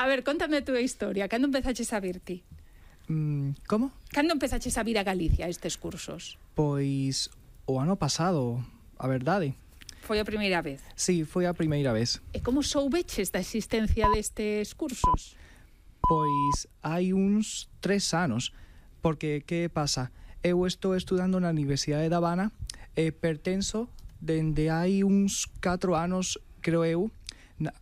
A ver, contame a túa historia. Cando empezaches a vir ti? Como? Cando empezaches a vir a Galicia estes cursos? Pois o ano pasado, a verdade. Foi a primeira vez? Sí, foi a primeira vez. E como soubeches da existencia destes cursos? Pois hai uns 3 anos, porque que pasa? Eu estou estudando na Universidade de Habana e pertenzo dende hai uns 4 anos, creo eu,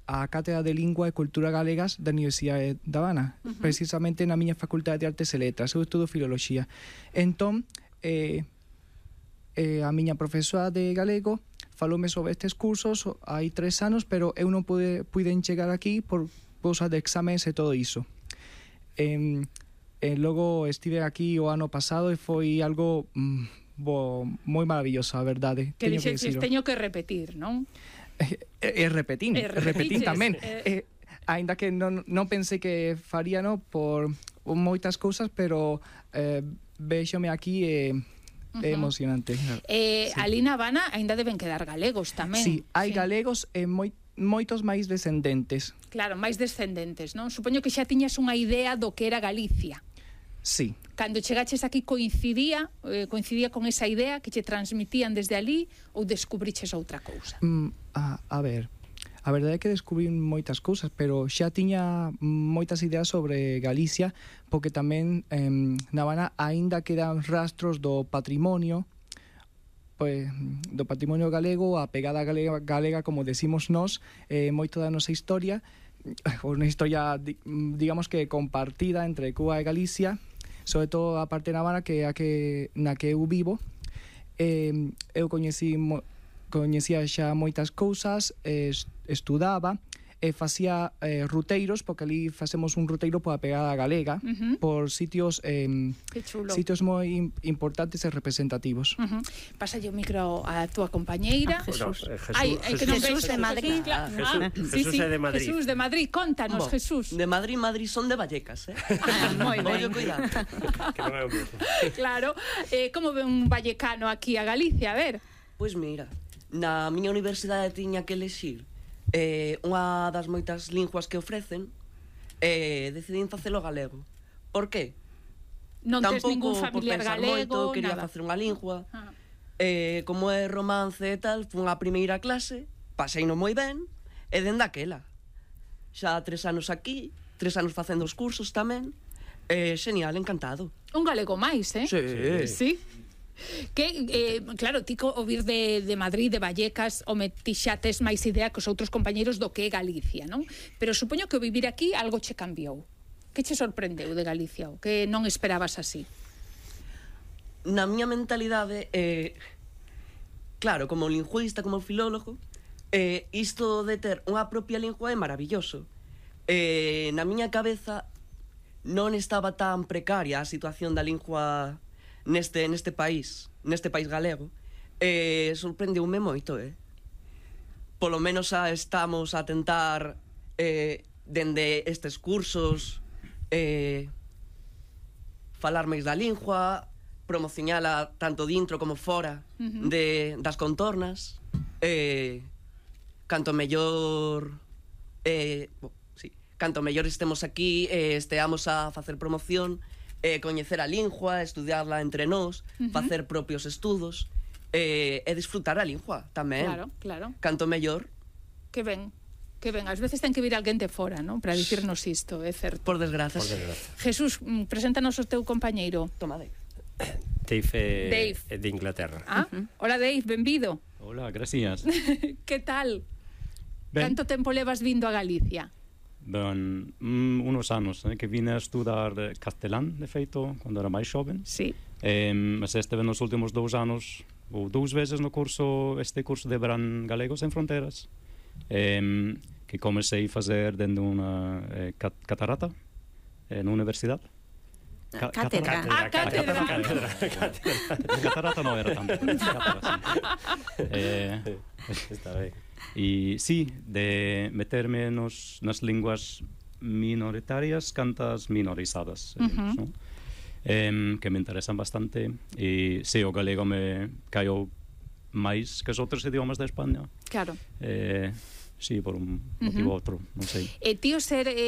a Cátedra de Lingua e Cultura Galegas da Universidade de Habana, precisamente na miña Facultade de Artes e Letras. Eu estudo Filoloxía. Entón, a miña profesora de galego faloume sobre estes cursos hai 3 anos, pero eu non puiden chegar aquí por cousa de exames e todo iso. Logo estive aquí o ano pasado e foi algo moi maravilloso, a verdade. Que dixeches, teño que repetir, non? Repetín tamén. Ainda que non pensei que faría, no, por moitas cousas, pero véxome aquí e é emocionante. Sí. Ali na Habana ainda deben quedar galegos tamén. Sí, hai galegos e moitos máis descendentes. Claro, máis descendentes, non? Supoño que xa tiñas unha idea do que era Galicia. Sí. Cando chegaches aquí coincidía con esa idea que che transmitían desde ali ou descubriches outra cousa? A ver, a verdade é que descubrí moitas cousas, pero xa tiña moitas ideas sobre Galicia, porque tamén na Habana aínda quedan rastros do patrimonio, pois, do patrimonio galego, a pegada galega, como decimos nós, moito da nosa historia, unha historia, digamos que compartida entre Cuba e Galicia, sobre todo a parte na Habana, que na que eu vivo. Eu coñecía xa moitas cousas, estudaba e facía ruteiros, porque ali facemos un ruteiro pola pegada galega, por sitios sitios moi importantes e representativos. Pasa o micro a túa compañeira. Jesús. Jesús de Madrid. Jesús é de Madrid. Jesús de Madrid, contanos, Jesús. De Madrid son de Vallecas, Moi ben. Cuidado. Que non é o mesmo. Claro. Como ve un vallecano aquí a Galicia? A ver. Pois mira, na miña universidade tiña que elexir unha das moitas linguas que ofrecen, decidín facelo galego. Por que? Non tes ningún familiar Tampouco galego, quería nada. facer unha lingua. Como é romance e tal, fun a primeira clase, paseino moi ben, e dende aquela. Xa 3 anos aquí, 3 anos facendo os cursos tamén. Genial, encantado. Un galego máis, Sí. Que, claro, ti o vir de Madrid, de Vallecas, ti xa tes máis idea que os outros compañeros do que é Galicia, non? Pero supoño que o vivir aquí algo che cambiou. Que che sorprendeu de Galicia? O que non esperabas así? Na miña mentalidade, claro, como lingüista, como filólogo, isto de ter unha propia lingua é maravilloso. Na miña cabeza non estaba tan precaria a situación da lingua neste país galego. Sorprendeume moito, Polo menos estamos a tentar dende estes cursos falar máis da lingua, promocionala tanto dentro como fora das contornas. Canto mellor estemos aquí, esteamos a facer promoción, coñecer a lingua, estudiarla entre nós, facer propios estudos, e disfrutar a lingua tamén. Claro. Canto mellor. Que ben. Ás veces ten que vir alguén de fora, non? Para dicirnos isto, é certo. Por desgraza. Jesús, preséntanos o teu compañeiro. Toma, Dave. Dave é de Inglaterra. Hola, Dave, benvido. Hola, gracias. Que tal? Ben. Canto tempo levas vindo a Galicia? Ben, unos anos, que vine a estudar castelán, de feito, cando era máis xoven. Sí. Mas esteve nos últimos 2 anos, ou 2 veces no curso, este curso de verán Galegos en Fronteras, que comecei a fazer dende unha catarata, na universidade. Cátedra. Catarata non era tanto. Está ben. E sí, de meterme nas linguas minoritarias cantas minorizadas, ¿no? Que me interesan bastante, e sí, o galego me caiu máis que os outros idiomas de España. Claro. Sí, por un motivo ou outro, non sei. E tío, ser